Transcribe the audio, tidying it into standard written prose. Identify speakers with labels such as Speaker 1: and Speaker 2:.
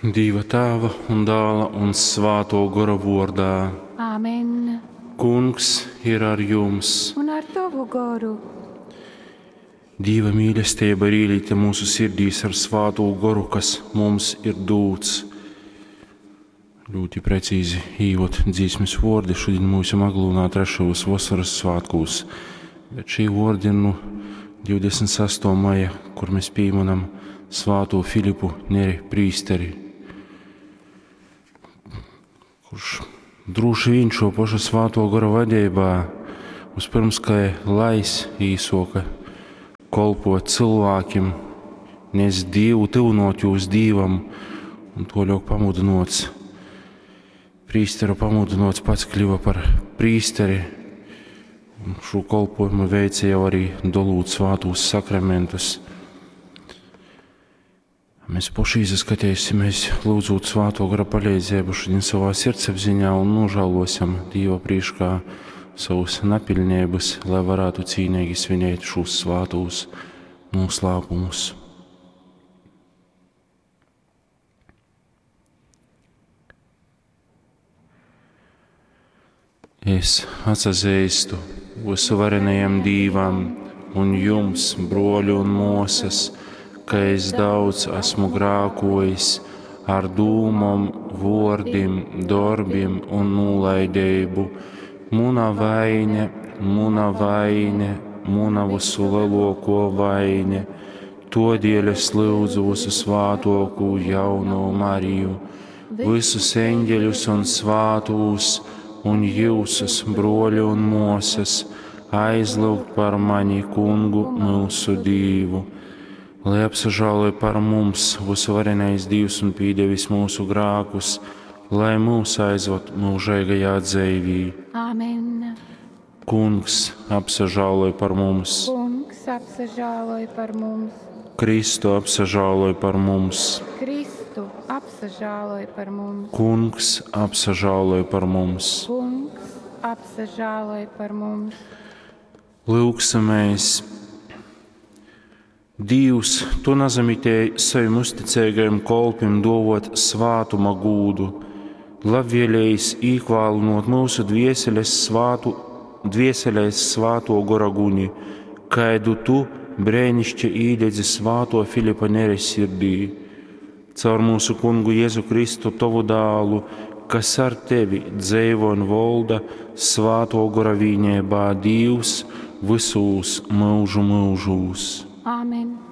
Speaker 1: Dīva Tāva un Dāla un Svātō Gora vōrdā.
Speaker 2: Āmen.
Speaker 1: Kungs ir ar jums.
Speaker 2: Un ar tovu goru.
Speaker 1: Dīva mīlestība ir īlīta mūsu sirdīs ar Svātū Goru, kas mums ir dūts. Ļoti precīzi īvod dzīsmes vōrdi šodien mūsu Aglūnā trešajos vasaras svātkūs. Bet šī vōrdi ir nu 26. maja, kur mēs pīminam Svātū Filipu Neri prīsteri, kurš droši vien šo pašu Svāto Gora vadeibā vispirms kā lais īsoka kolpot cilvēkiem, nes Dievu, tuvinot jūs Dievam, un toļok pamudinots, prīsteru pamudinots pats kļuva par prīsteri, un šo kolpojumu veica jau arī dolūt svātūs sakramentus. Mēs paši izaskatīsimies, lūdzot Svāto Gara palīdzību šodien savā sirdsapziņā un nožēlosim Dieva priekšā savus napilnības, lai varētu cīnīgi svinēt šos svātos noslēpumus. Es atsazīstu visvarenajam Dīvam un jums, broļi un mosas, ka es daudz esmu grākojis ar dūmom, vōrdim, dorbim un nūlaideibu. Muna vaine, muna vaine, muna visu lielāko vaine. Todēļ es lūdzu visu svātokū jauno Mariju, visus eņģeļus un svātūs, un jūsus, broļi un mosas, aizlūgt par mani kungu mūsu Dīvu. Lai apsažāloja par mums visvarenais Dievs un pīdevis mūsu grākus, lai mūs aizvad mūžīgajā dzīvī.
Speaker 2: Āmen.
Speaker 1: Kungs apsažāloja par mums.
Speaker 2: Kungs apsažāloja par mums.
Speaker 1: Kristu apsažāloja par mums.
Speaker 2: Kristu apsažāloja par mums.
Speaker 1: Kungs apsažāloja par mums.
Speaker 2: Kungs apsažāloja par mums.
Speaker 1: Lūksimies! Dievs, tu nazamitēji savim uzticīgajam kolpim dovot svātuma gūdu, labvēlējis īkvālinot mūsu dvieseles svātu, dvieselēs svāto gora guni, kaidu tu brēnišķi īdedzi svāto Filipa Nere sirdī. Caur mūsu kungu Jēzu Kristu tovu dālu, kas ar tevi dzeivo un volda svāto gora vīnībā Dievs visūs mūžu mūžūs.
Speaker 2: Āmen.